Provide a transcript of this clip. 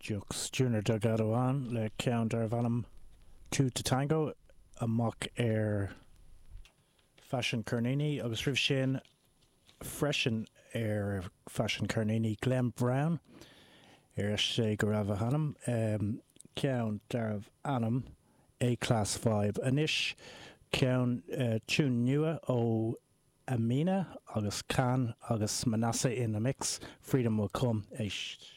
Jux Junior Delgado ann le ceann darbh ainm Two to Tango amach ar Fashion Ceirníní agus roimh sin freisin ar Fashion Ceirníní Glenn Brown, ar sé go raibh a hainm, ceann darbh ainm A-Class Vibe. Anois ceann, tune nua ó Amina agus Can agus Manasseh in the mix, Freedom Will Come. Éist.